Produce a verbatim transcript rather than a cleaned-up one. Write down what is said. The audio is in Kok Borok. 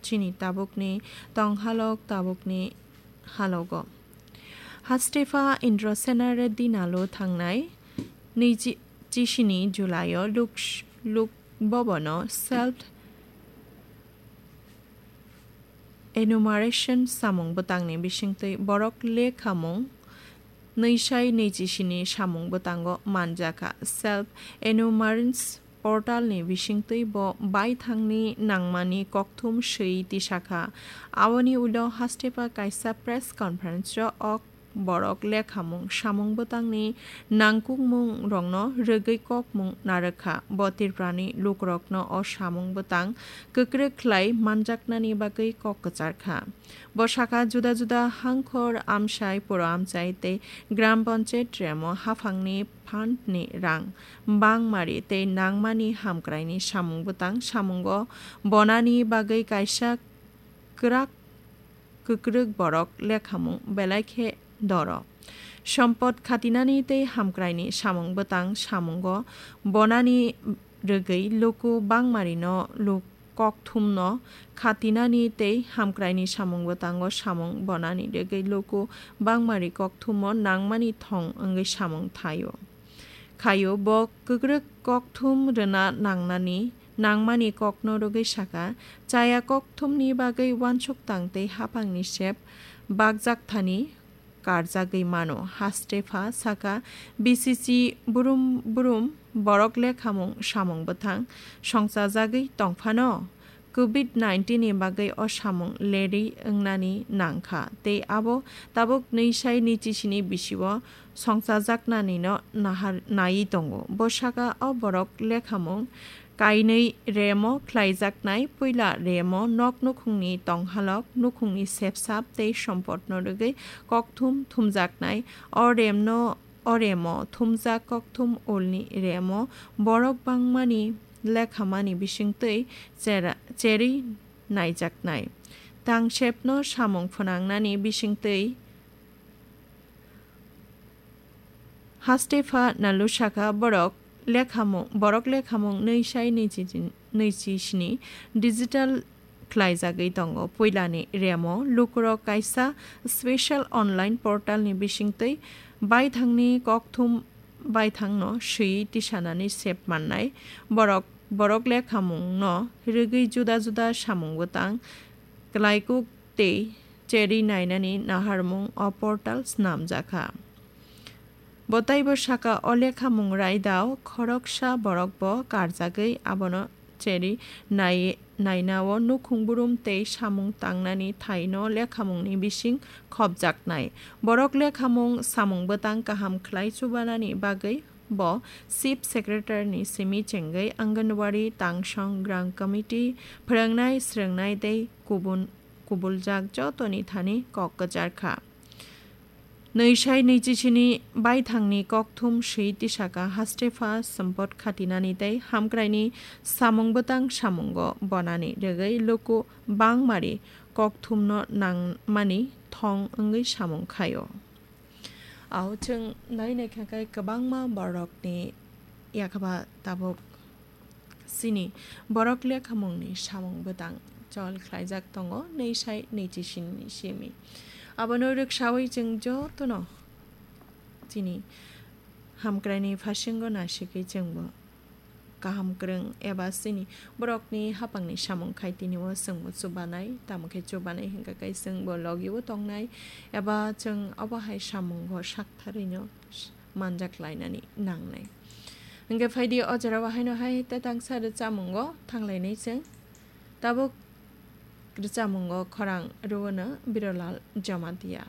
chini tabukni tonghalok tabukni halogo. Hastepa Indrasena Reddy Nalu thangnai niji chisini July-o Luk, Luk Bhavan-o self enumeration samung bwtangni bisingtwi borok lekhamung nwi sai nwi chisini samung bwtango manjakha. Self enumerance portal ni bisingtwi bo baithangni nangmani kokthum swi tisakha. Aboni ulo Hastepa kaisa press conference-o ok borok lekhamung samung bwtangni nangkukmungrokno rwgwi kokmung narwkha. Bo Tripurani lukurokno o samung bwtang kwkrwk khlai manjaknani bagwi kok kwcharkha. Bo sakha, juda juda hangkhor amchai puro amchai tei gram panchayat remo haphangni fund ni rang bangmari tei nangmani hamkraini samung bwtang samungo bonani bagwi kaisa kwrak kwkrwk borok lekhamung belai khe doro. Sompot khatinani tei hamkraini samung bwtang samungo bonani rwgwi luku bangmarino luk kokthumno khatinani tei hamkraini samung bwtango samung bonani rwgwi luku bangmari kokthumo nangmani thong wngwi samung thaio. Khaio bo kwkrwk kokthum rwna nangnani nangmani kokno rwgwi sakha, chaya kokthumni bagwi uansuk tang tei haphangni sep bakjak thani karjagwi mano. Hastepa sakha, B C C brum brum borok lekhamung samung bwthang songchajagwi tongphano covid nineteen ni bagwi o samung lerwi wngnani nangkha tei abo tabuk nwi sai nwi chisini bisio songchajaknanino nahar naiwi tongo. Bo sakha, o borok lekhamung kainwi remo khlaijaknai, puila remo nok nukhungni tonghalok, nukhungni sepsap tei sompotno rwgwi kokthum thumjaknai. O remno, o remo thumjak kokthum ulni remo borok bangmani lekhamani bisingtwi chera-, cherwi naijaknai. Tangsepno samung phwnangnani bisingtwi Hastepa Nalu sakha, borok lekhamung, borok lekhamung nwi sai nwi chi, nwi chi sini digital khlaijagwi tongo. Puilani remo lukurok kaisa special online portal ni bisingtwi baithangni kokthum baithangno swi tisanani sep mannai. Borok, borok lekhamungno rwgwi juda juda samung bwtang klaikuk tei cherwi nainani naharmung o portal snamjakha. Bo taibo sakha, o lekhamung raidao khoroksa borok bo karjagwi abono cherwi nai-, nainao nukhung brum tei samung tangnani thaino lekhamungni bising khopjaknai. Borok lekhamung samung bwtang kaham khlai chubanani bagwi bo Chief Secretary ni simi chengwi Anganwadi, Tangsong, Gram Committee, phwrwngnai, swrwngnai tei kubun kubuljak jotoni thani kok kwcharkha. Nwi sai nwi chisini baithangni kokthum swi tisakha, Hastepa sompot khatinani tei hamkraini samung bwtang samungo bonani rwgwi luku bangmari kokthumno nangmani thong wngwi samung khaio. Ao chwng nai naikha khe kwbangma borokni yakhaba tabuk chini borok lekhamungni samung bwtang chol khlaijak tongo, nwi sai nwi chisini simi. Abono rwksaui chwng jotono chini hamkraini phasingo nasigwi chwngbo kaham kwrwng eba chini borokni haphangni samung khai tini o chwngbo chubanai, tamo khe chubanai hwnkha khe chwngbo logi o tongnai eba chwng obo hai samungo saktharwino manjak lainani nangnai. Hwnkhe phaidi o jora o haino hai tetangsa rwchamungo thanglainai chwng. Tabuk rwchamungo khorang rwono Birolal Jamatia.